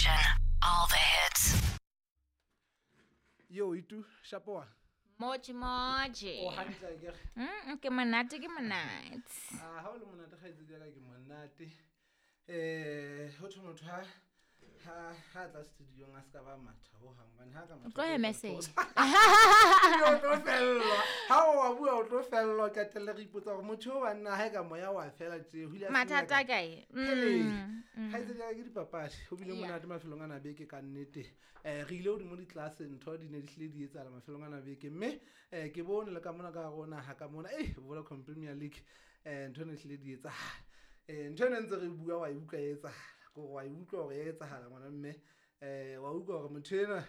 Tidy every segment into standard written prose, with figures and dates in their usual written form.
station. All the hits. Yo, itu shapoa. Moji moji. O hantle akere. Ke monate ke monate. Ah, ha o le monate kgaitsedi ya ka ke monate. Ho thwe motho ha tla studiong a ska ba matha ho hang hobane ha ka matha. O tlo hemesela. O tlo fellwa. Ha o wa bua o tlo fellwa qetelle re ipotsa hore motho o banna ha e ka moya wa fela tje. Ho ile a Mathata a kae? Kgaitsedi ya ka ke dipapadi. Ho bile monate mafelong ana beke ka nnete. Re ile hodimo ditlase ntho di ne di hlile di etsahala mafelong ana beke mme ke bone le ka mona ka hare ho naha ka mona Vodacom Premier League ntho ne hlile di etsahala. Ntho ena ntse re bua wa e utlwa e etsahala. Kore wa e utlwa hore e etsahala ngwana mme. Wa utlwa hore motho enwa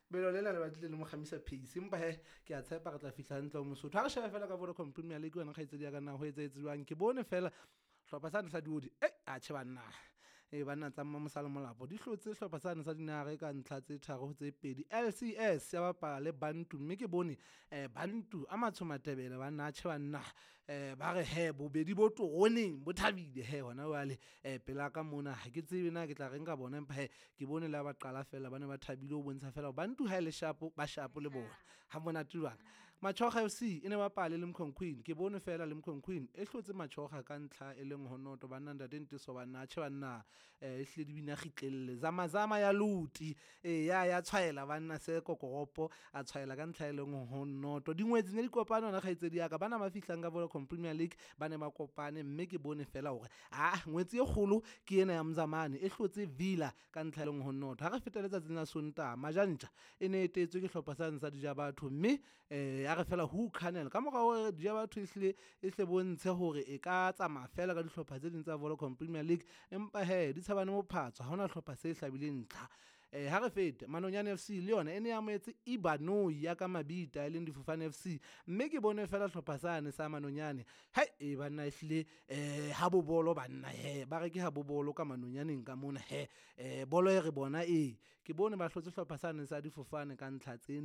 belo lena le batlile le mo kgamisa pace empa he ke a tshepa re tla fihla hantle ho Mosotho. Ha re shebe fela ka Vodacom Premier League wena kgaitsedi ya ka na ho etsahetse jwang. Ke bone fela hlopha sane sa diodi atjhe banna. Banna tsa Mmamosala Molapo di hlotse hlopha sane sa Dinare ka ntlha tse 3 ho tse 2. LCS ya bapala le Bantu mme ke bone Bantu a matsho Matebele banna atjhe banna. Ba re he bobedi bo toroneng bo thabile he hona jwale pela ka mona ha ke tsebe na ke tla reng ka bona empa he ke bone le ha ba qala fela ba ne ba thabile ho bontsha fela Bantu ha e le sharp ba sharp le bona ha monate jwang. Machoga FC e ne bapale le Mkhonkhwini ke bone fela le Mkhonkhwini e hlotse Machoga ka ntlha e leng honoto banna ntate Nteso banna atjhe banna e hlile di bina kgitlelle zamazama ya luti ya tshwaela banna se kokoropo a tshwaela ka ntlha e leng honoto dingwetsi ne di kopana na kgaitsedi ya ka bana ba fihlang ka Vodacom Premier League ba ne ba kopane mme ke bone fela hore ngwetsi e kgolo ke ena ya Mzamane e hlotse Villa ka ntlha e leng honoto. Ha re feta letsatsing la Sontaha Majantja e ne etetswe ke hlopha sa sa Dijabatho mme ya re fela ho Canal ka mora hore Dijabatho e hle bontshe hore e ka tsamaya fela ka dihlopha tse ding tsa Vodacom Premier League empa he di tshabane mophatso ha hona hlopha se hlabileng ntlha. Ha re fete Manonyane FC le yona e ne amohetse Ibanoi ya ka Mabita e leng Difofane FC mme ke bone fela hlopha sane sa Manonyane hai banna e hlile ha bobolo banna he ba re ke ha bobolo ka Manonyaneng ka mona he bolo e re bona ke bone ba hlotse hlopha sane sa Difofane ka ntlha tse